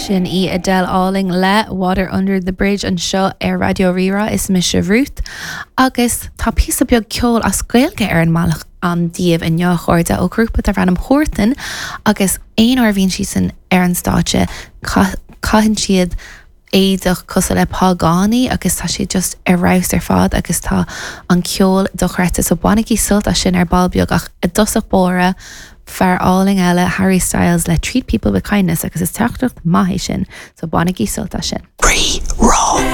Sin í Adele álainn le Water Under the Bridge anseo ar Raidió Rí-Rá. Is mise Ruth agus tá píosa beag ceoil as Gaeilge ar an mbealach agam daoibh inniu, a chairde, ó ghrúpa darb ainm Huartan agus aon uair a bhíonn siadsan ar an stáitse caitheann siad éadach cosúil le págánaí agus tá siad just ar fheabhas ar fad agus tá an ceol dochreidte so bainigí sult as sin ar ball beag ach i dtosach báire fear álainn eile Harry Styles le Treat People With Kindness agus is teachtaireacht maith é sin so bainigí sult as sin. Rí Rá.